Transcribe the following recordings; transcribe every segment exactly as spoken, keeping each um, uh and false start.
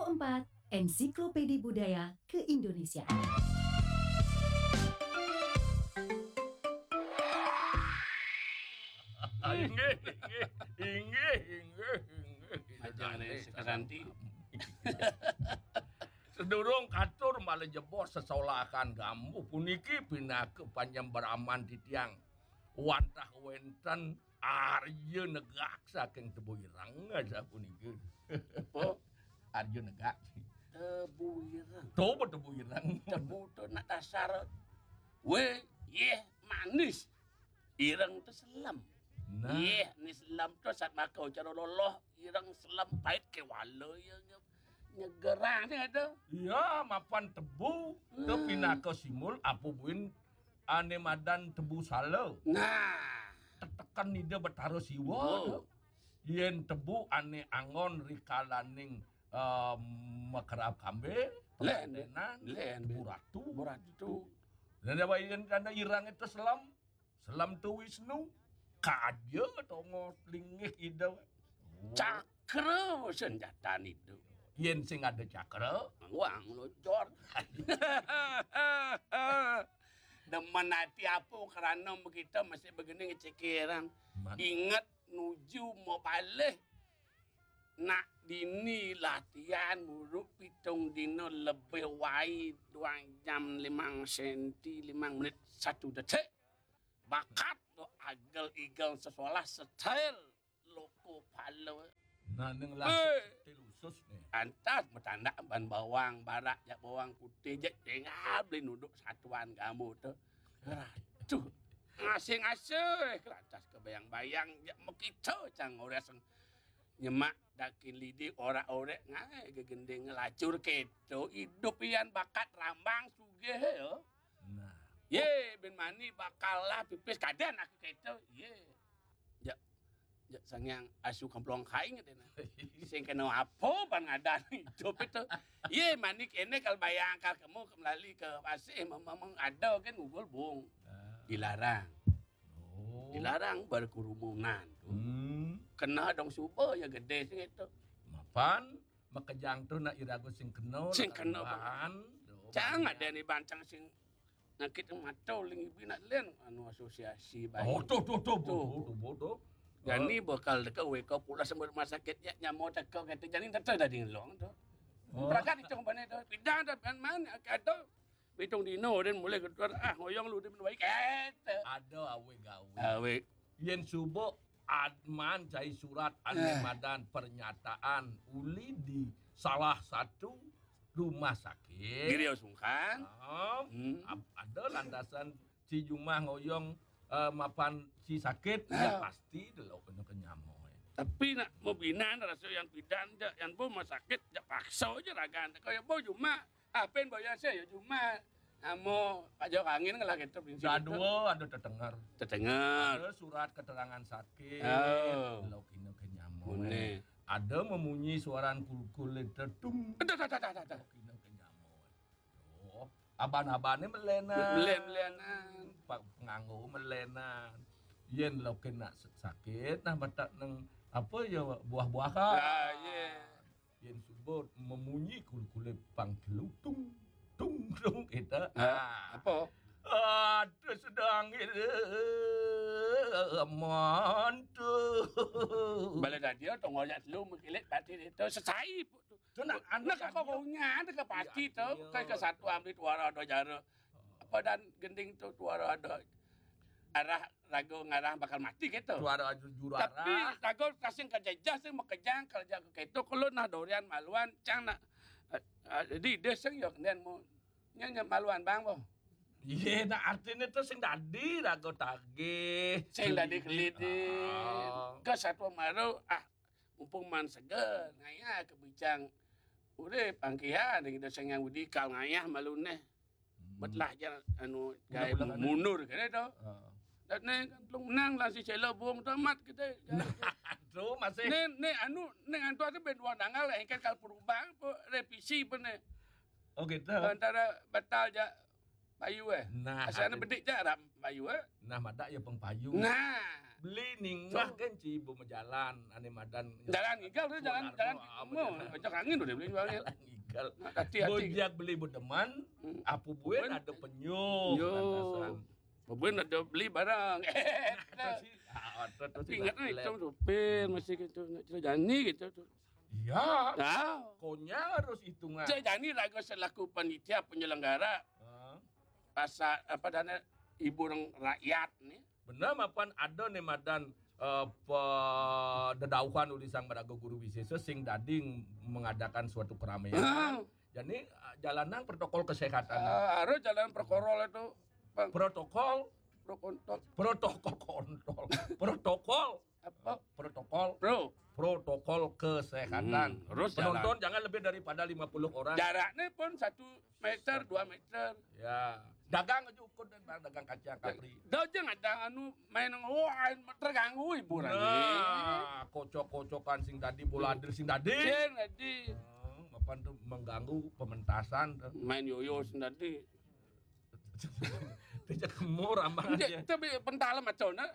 Empat, Ensiklopedi Budaya Keindonesiaan. Inggih, inggih, inggih, inggih, inggih. Aja ada sekeranti. Sedurung katur malih jebos sesolahan gambuh puniki pinaka panyembraman titiang wantah wenten Arya Negak saking Tebu Ireng sapuniki. Apa? Arya Negak. Tebu Ireng. Tuh, Tebu Ireng. Tebu to nak dasar. Weh, yeh, manis. Ireng to selem. Nah. Yeh, ni selem to sat maka cara loloh, ireng selem pait kewala ya nye-, nyegerang sing ada. Iya, mapan tebu to pinaka simbol apa buin ane madan tebu sala. Nah. Teteken Ida Betara Siwa. Oh. Yen tebu ane anggon rikalaning eh, makerab kambe, len, tebu ratu. Tebu ratu. Dan apa yen kana ireng itu selem, selem to Wisnu, kaja tongo linggih Ida. Cakra senjata itu. Yen sing ada cakra, wang locor. Demen ati apa kerana kita masih begini ngecekiran. Ingat nuju mau balik. Nak dini latihan muruk pitung dina lebih wai duang jam limang senti, limang menit satu detik. Bakat tu agel-igel sesolah style loko pala. Nah, ning lah style khusus ni. Antas betandak ban bawang barak jak bawang putih jak tinggal beli nuduk satuan kamu tu. Aduh, ngasih-ngasih kelantas kebayang-bayang jak mekita cang orang nyemak dakin lidi orak-orek ngai gegending ngelacur keto idup ian bakat rambang sugih ya. Nah. Ye, bin mani bakal lah pipis kadan aku keto. Ye. Jak, jak sangyang asu kemplong kaing katanya. Sing kena apa ban ngadan idup itu. Ye, mani kene kal bayang kal kemu ke melali ke pasih memang ada kan ngugul bung. Ah. Dilarang. Oh. Dilarang berkerumunan tu. Hmm. Kena dong suba ya gede sing itu. Mapan makejang tu nak irago sing kena. Sing kena. Cang ada ni bancang sing nakit mata uling ibi nak len anu asosiasi baik. Oh, tu tu tu tu tu tu. Jani bakal deka weka pula sama rumah sakit ya nyamo teka kata jani tata dadi ngelong tu. Oh. Beragat itu mana tu. Pidang dah ban mana ada. Pitung dino den mulai ketuan ah ngoyong lu di menwai kete. Ada awe gawe. Awe. Yen subuh adman cai surat ane madan pernyataan uli di salah satu rumah sakit. Giri sungkan. Hmm. Ada lantasan si jumah ngoyong eh, mapan si sakit ya pasti delok kena kenyamo. Tapi nak mebinan rasa yang pidan je, yang bo rumah sakit je paksa je ragan. Kau ya bo cuma Apen boya se ya cuma amo pajak angin lah gitu prinsip. Ada dua, ada tetenger. Tetenger. Ada surat keterangan sakit. Oh. Lo kena kenyamo. Ada memunyi suaran kulkul itu tung. Ada ada ada ada. Lo kena kenyamo. Oh, aban-abane melenan. Melen-melenan. Penganggo melenan. Yen lo kena sakit nah batak neng apa ya buah-buahan. Ah, yeah. Yen subur memunyi kul-kule pang telu tung tung tung kita. Ah, apa? Aduh sedang itu mantu. Bala dadia tongol jak telu mengkilit batin itu sesai. Tu nak anak kau kau nya tu ke pati tu ke ke satu ambil tuara ada jara. Apa dan gending tu tuara ada arah raga ngarah bakal mati gitu. Tuara juru arah. Tapi raga kasing kerja sing makejang kerja ke keto kalau nah dorian maluan cang nak uh, jadi dia sing yo kemudian mu nya nya maluan bang boh. Iya, nah artinya tu sing dadi raga tagih. Sing dadi kelidin. Ke satu maru ah mumpung man seger ngaya ke bicang urip angkihan kita sing yang udi kal ngayah malu neh. Betlah je anu gai mundur kene to. Dan ne kan telung menang lah si Celo Bung tamat kita. Tu masih. Ne ne anu ne ngantu tu ben dua tanggal engkan kal perubang apa revisi pun ne. Oh gitu. Antara batal ja payu eh. Nah, asal ada bedik ja ram payu eh. Nah, madak ya peng payu. Nah. Beli ningah kan ci ibu majalan, ane madan. Jalan ngigal tu, jalan, jalan. Mau, kocok angin udah beli jualnya. Jalan ngigal. Hati-hati. Bojag beli bedeman, apu buen ada penyu. Yo. Buen ada beli barang. Tapi ingat nih, itu supir masih gitu, nak cerita Jani gitu tu. Iya. Nah, Konya harus hitungan. Cerita Jani lagu selaku panitia penyelenggara pasar apa dana hiburan rakyat nih. Benar mapan ada nih madan eh, pe- dedauhan uli sang maraga guru wisesa sing dadi mengadakan suatu keramaian. Jadi eh, jalanang protokol kesehatan. Ah, harus jalan perkorol itu, Bang. Protokol, Prokontol. protokol kontol, protokol, Apa? protokol, Bro. protokol kesehatan. Hmm, terus Penonton jangan lebih daripada lima puluh orang. Jaraknya pun satu meter, dua meter. Ya, dagang aja ukur dan bang dagang kacang kapri. Dah jangan ada anu main ngoan terganggu hiburan. Nah, kocok-kocokan sing tadi, bola adil sing tadi. Sing tadi Hmm, mapan tuh mengganggu pementasan tuh. Main yoyo sing tadi. Tidak kemur ambang Dia aja. Tapi pentala macam mana?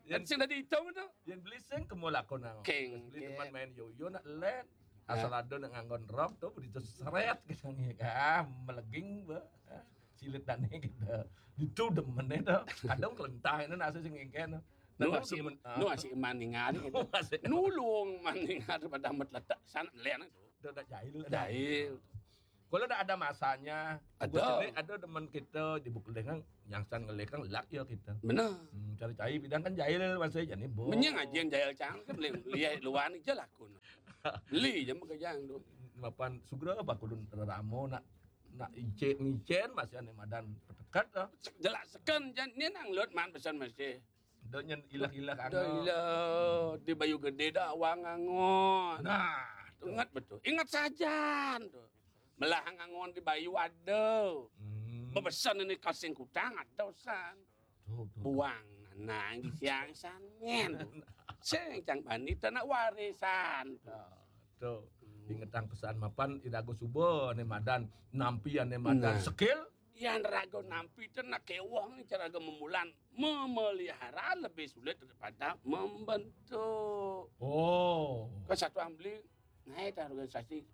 Yang- Sing tadi hitung tu. Yang beli sing kemur lakon nang. Keng, Beli keng. Teman main yoyo nak let. Asal ada nak nganggon rok tuh, begitu seret gitu nih. Ah, meleging bah. Ah, silit dan gitu. Itu demen itu. Kadang kelentah ini nasi sing ngengken. Nu Nah, asik, demen- nu asik maningan gitu. Nu asik. Nulung maningan pada amat letak sana len itu. Udah, udah jahil. Jahil. Kalau udah ada masanya, Ada. gua sendiri ada demen kita di Bukeleng kan, yang san ngelekang lak ya kita. Benar. Hmm, cari cai bidang kan jahil masih jadi bu. Menyang aja yang jahil cang kan beli lihat luar ni je lakun. Beli je muka jang tu. Mapan sugra apa kudun ramo nak nak icen icen masih ane madan petekat lah. Jelaskan jan ni nang lot man pesan masih. Dah nyen ilah-ilah Dah ila di Bayu Gede dah awang angon. Nah, Tu ingat betul. Ingat sajan tu. Melah angon di Bayu ada. Hmm. Bebesan ini kasing kutang ada san. Tuh, tuh. Buang nang di siang sangen. Sing cang bani tanah warisan tu. Ah, tuh. Ingetang pesan mapan irago suba ane madan nampi ane madan Nah. Skill. Yang raga nampi tu nak kewah ni cara raga memulan memelihara lebih sulit daripada membentuk. Oh. Kesatuan beli naik organisasi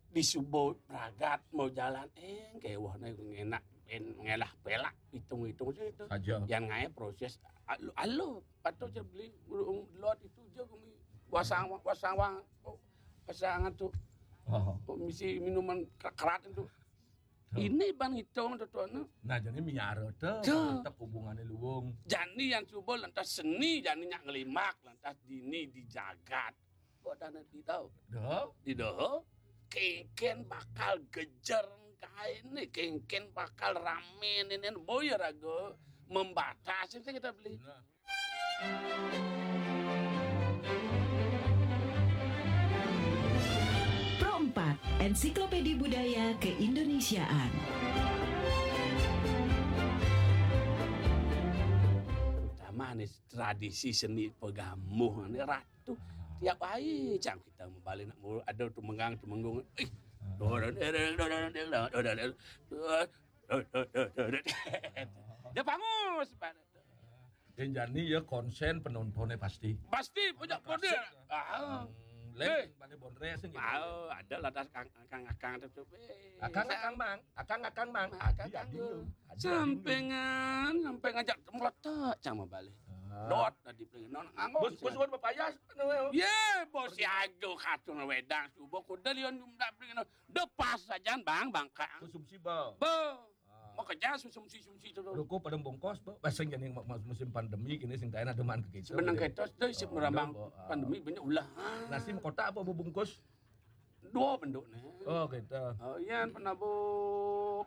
di subuh pragat mau jalan eh kewah ni ngenak pen ngelah pelak hitung-hitung saja itu. Saja. Yang ngai proses alu alu patut je beli urung lot itu je kami wasang wasang wang oh, pasangan tu Oh. oh, misi minuman kerat itu. Ini ban hitung tu tuan tu. Nah, jadi miara tu Tuh. Tetap hubungannya luwung. Jani yang cuba lantas seni jani nyak ngelimak lantas dini di jagat. Kok dana di tau? Dah. Di doho kengken bakal gejer kain ni kengken bakal rame ni ni boya raga membatasi kita beli. Nah. Pro empat, Ensiklopedi Budaya Keindonesiaan. Terutama ni tradisi seni pegamuh ni ratu tiap hari cang kita membalik nak mulu ada tu mengang tu menggung ih dorong dorong dorong dorong dorong dorong dia pangus pada Yang jani ya konsen penontonnya pasti. Pasti punya kode. Ah. Hmm, lain pada bondres gitu. Ah, ada lah das kang kang kang tu. Akang akang mang, akang akang mang. Akang Adi adi. Sampengan, sampai ngajak melotak sama balik. Dot tadi pergi non nganggo. Bos bos buat bapayas. Ye, bos ya aduh katung wedang subuh kuda lion jumdak pergi non. Depas saja bang bangka. Konsumsi bal. Bo. Mau kerja sumsi sumsi tu. Ruko pada bongkos, bo. Pasang jadi musim pandemi kini sing tayan ada man ke kita. Sebenang ketos tu isi merambang Bo. Pandemi banyak ulah. Nasi kotak apa bungkus? Dua bentuk ni. Oh, kita. Oh, yang pernah bu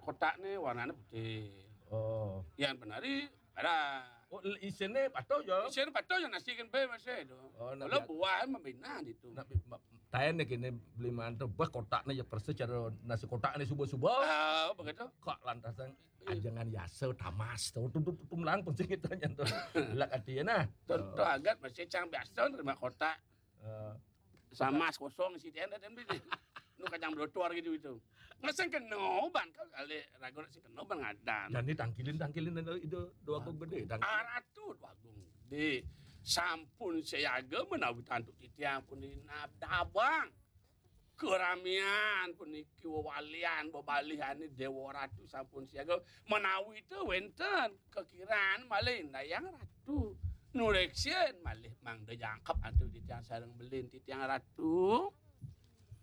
kotak ni warnanya putih. Oh. Yang penari ada. Oh, isinnya patuh ya. Isin patuh yang nasi kan be masih tu. Oh, nak Kalau biar- buah membina gitu. Nak tayan ni kini beli mantu bah kotak ni ya persis cara nasi kotak ni subuh-subuh. Ah, begitu. Kok lantasan ajangan yasa tamas tu tu tu tu melang pun sing kita nyan tu. Lak hati ya nah. Tentu agat masih cang biasa terima kotak. Eh, Sama kosong si dia dan beli. Nu kacang blotor gitu itu. Ngasang kena ban kau kali ragu nak sing kena ban ngadan. Jadi tangkilin tangkilin dan itu dua aku gede tangkilin. Aratu dua agung di Sampun siaga menawi antuk titiang puniki nabdabang. Keramian puniki wewalian bebalihane Dewa Ratu sampun siaga. Menawi te wenten kekiran malih Dayang Ratu. Nureksin malih mangda jangkep antuk titiang sareng belin titiang Ratu.